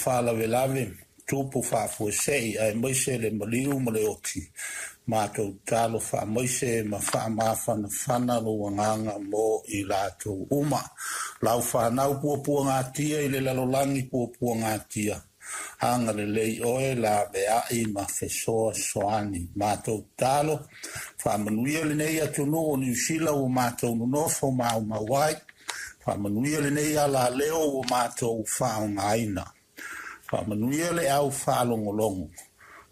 faalavelave, tupu faafuasei aemaise le maliu ma le oti. Matou tatalo faamaise ma faamafanafana lou agaga mo i latou uma. Lau fanau puapuagatia i le lalolagi puapuagatia, agalelei oe laveai ma fesoasoani. Matou tatalo faamanuia lenei atunuu o Niu Sila ua matou nonofo maumau ai. Faamanuia lenei alaleo ua matou faaaogaina. Faamanuia le au faalogologo.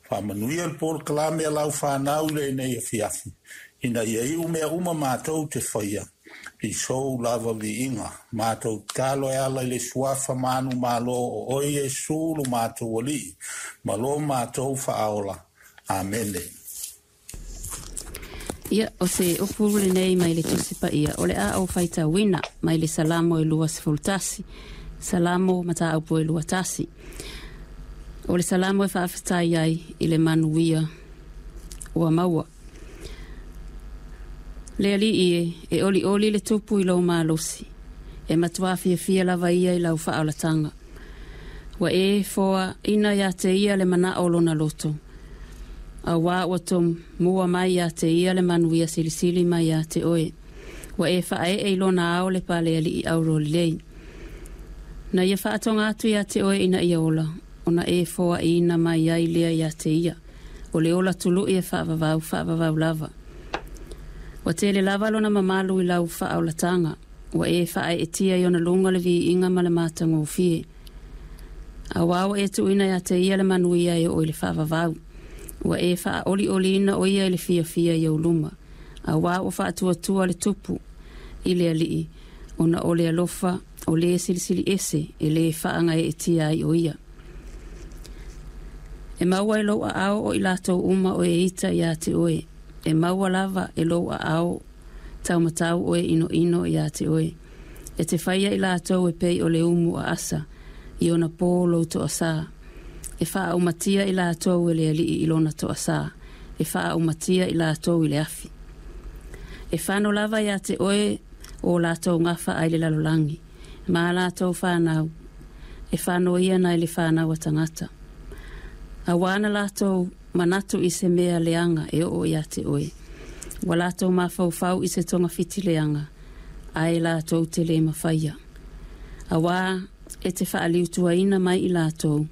Faamanuia le polokalame a lau fanau i lenei afiafi, ina ia iu mea uma matou te faia i sou lava viiga. Matou tatalo e ala i le suafa manumalo o oe Iesu lo matou Alii ma lo matou Faaola. Amene. Ia, o se upu lenei mai le Tusi Paia, o le a ou faitauina mai le Salamo e 21, Salamo mataupu e 21. O le Salamo e faafetai ai i le manuia ua maua. Le Alii e, e olioli le tupu i lou malosi, e matua fiafia lava ia i lau faaolataga. Ua e foaina ia te ia le manao o lona loto, auā ua tomua mai ia te ia le manuia silisili mai ia te oe. Ua e faaee i lona ao le palealii auro lelei. Na ia faatoga atu ia te oe ina ia ola, ona e foaina mai ai lea ia te ia. O le ola tului e faavavau, faavavau lava. Ua tele lava lona mamalu i lau faaolataga, ua e faaeetia i ona luga le viiga ma le matagofie. Auā ua e tuuina ia te ia le manuia e oo i le faavavau. Ua e faaolioliina o ia i le fiafia i ou luma. Auā ua faatuatua le tupu i le Alii, ona o le alofa o le Silisili Ese e lē faagaeetia ai o ia. E maua e lou aao o i latou uma o e ita ia te oe. E maua lava e lou aao taumatau o e inoino ia te oe. E te faia i latou e pei o le umu aasa i ona pō lou toasā. E faaumatia i latou e le Alii i lona toasā. E faaumatia i latou i le afi. E fano lava ia te oe o latou gafa ai le lalolagi, ma a latou fanau, e fano ia nai le fanau a tagata. Auā na latou manatu i se mea leaga e oo ia te oe. Ua latou mafaufau i se togafiti leaga, ae latou te lē mafaia. Auā e te faaliutuaina mai i latou,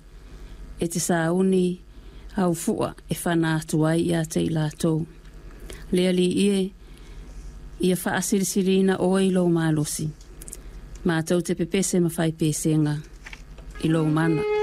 e te sauni haufua e fana atu ai ia te i latou. Le Alii e, ia faasilisiliina oe i lou malosi. Matou te pepese ma fai pesega i lou mana.